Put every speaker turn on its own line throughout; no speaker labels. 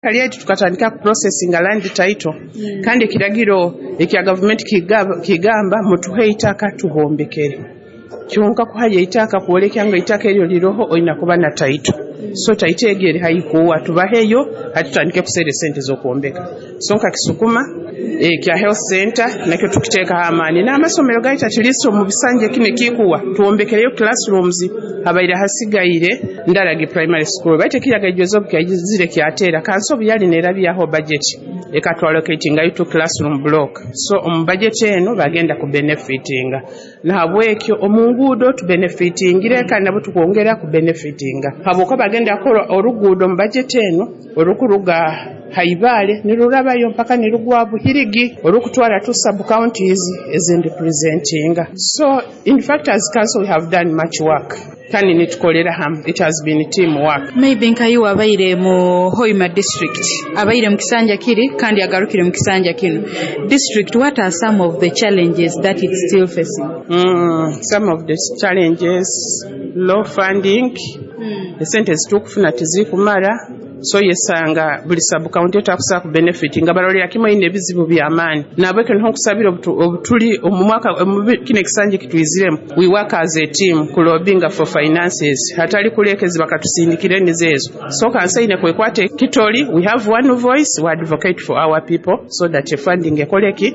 Lyaitu tukatandika kuprocessinga land title, kandi ekiragiro ekya gavumenti kigamba mutuhe eitaka tubombekere. Kyonka kuhayo eitaka, kwolekya ngu eitaka eryo liroho, oina kuba na title. So title egyo eri haikuwa, tubaheyo hati tutandike kuseera esente z'okwombeka. So nka Kisukuma ekya health center nakyo tukiteekaho amaani, n'amasomero gaitu, at least omu bisanja kinu ekikuwa twombekereyo classrooms. Habaire hasigaire Ndaragi Primary School, baitu ekiyaga ejozi obu kyaizire kyateera kanso, obu yali nerabyaho budget ekatwallocatingayo two classroom block. So omu budget eno bagenda kubenefitinga. Nahabwekyo omu nguudo tubenefitingire, kandi nabo tukwongera kubenefitinga habwokuba bagenda kukora oruguudo omu budget eno orukuruga Haibale nirurabayo mpaka nirugwa Buhirigi, orukutwara two sub counties ezindipresentinga. So in fact, as council we have done much work, kandi nitukolera hamu. It has been team work.
Maybe nkayiwe abaire mu Hoima District, abaire mu kisanja kiri kandi agarukire mu kisanja kino district, what are some of the challenges that it's still facing?
Some of the challenges: low funding. Esente zitukufuna tizikumara, so yesanga buli sub county etakusobola ku benefit nga balolera kimwe ine ebizibu by'amaani. Nabwekyo niho nkusabira obutuli omu mwaka kino ekisanja kitwiziremu, we work as a team kulobinga for finances, hatali kulekezi bakatusindikira enizo ezo. So kanso ine kwekwata ekitoli. We have one voice, we advocate for our people so that funding ekoleki,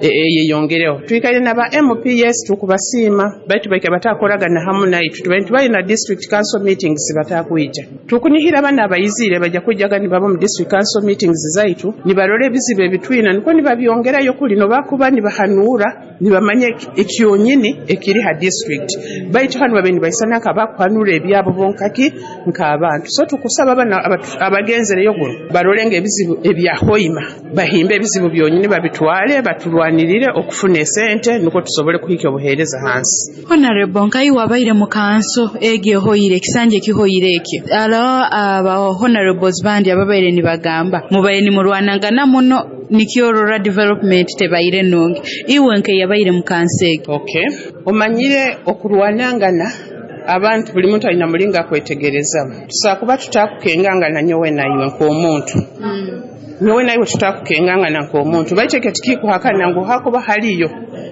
yeyongereho. Twikaire naba MPs, tukubasiima, baitu baike batakoragana hamu naitu. Tubaire tubaire na district council meetings, batakwija. Tukunihira bana abayizire bajja kwijjaga nibaba mu district council meetings zaitu, nibarora ebizibu ebitwina, niko nibabyongerayo kuli nobakuba nibahanuura, nibamanya ekyonyini ekiri ha district. Baitu hanu babe nibaisana nkabakuhanura ebyabo bonkaki nk'abantu. So tukusaba bana abagenzereyo guno barole nga ebizibu ebya Hoima, bahimbe ebizibu byonyini, babitwale, baturwanirire okufuna esente nukwo tusobole kuhika obuheereza hansi.
Honorable, nkayiwe abaire mu kanso egyo ehoire ekisanja ekihoire ekyo, alo aba honorables bandi ababaire nibagamba mubaire nimurwanangana muno, nikyorora development tebaire nungi. Iwe nkeyabaire mu kanso egyo?
Okay, omanyire okurwanangana, abantu buli muntu alina mulingo akwetegerezamu. Tusobola kuba tutakukengangana nyowe naiwe nk'omuntu, nyowe naiwe tutakukengangana nk'omuntu, baitu ekyo tikikuhakana ngu hakuba haliyo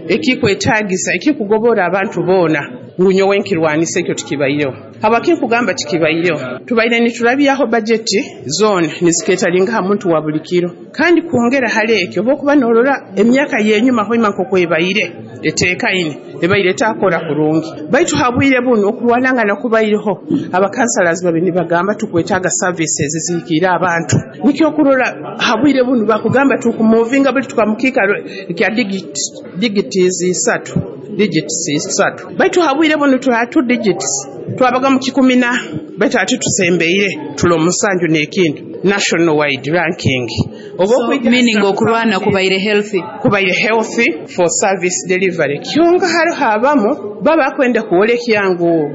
ekikwetagisa ekikugobora abantu boona ngu nyowe nkirwanisa. Ekyo tikibaireho. Habwakinkugamba tikibaireho? Tubaire niturabyaho bajeti zoona niziketalinga ha muntu wa buli kiro. Kandi kwongera hali ekyo, oba okuba norora emyaka yenyuma, Hoima nk'okwebaire eteekaine, ebaire etakora kurungi. Baitu habwire buno okurwanangana kubaireho, abakansalas babe nibagamba tukwetaaga services zihikiire abantu. Nikyo okurora habwire bunu bakugamba tukumuvinga buli tukamukiikaro kya digits isatu, digits isatu. Baitu habwire buno tuli two digits, twabaga mu 10 na, baitu ati tusembeire tuli omusanju n'ekintu national wide ranking. Oba
So,
okwijja
meaning okurwana kubaire healthy.
Kubaire healthy for service delivery. Kyonka hariho abamu baba bakwenda kwolekya ngu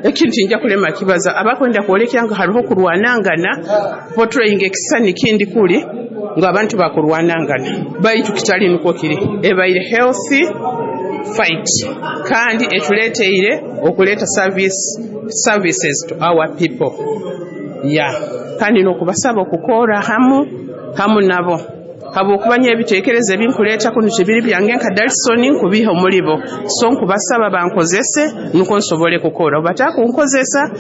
ekintu nja kulema kibaza, abakwenda kwolekya ngu hariho kurwanangana, portraying ekisani kindi kuli ngu abantu bakurwanangana, baitu kitali nukwo kiri. Ebaire healthy fight, kandi etuleteire okuleeta services to our people, yeah. Kandi n'okubasaba okukora hamu hamu nabo, habwokuba nyo ebiteekerezo ebinkuleeta kunu tibiri byange nka Dalison, nkubiha omulibo. So nkubasaba bankozese nukwo nsobole kukora, obu batakunkozesa.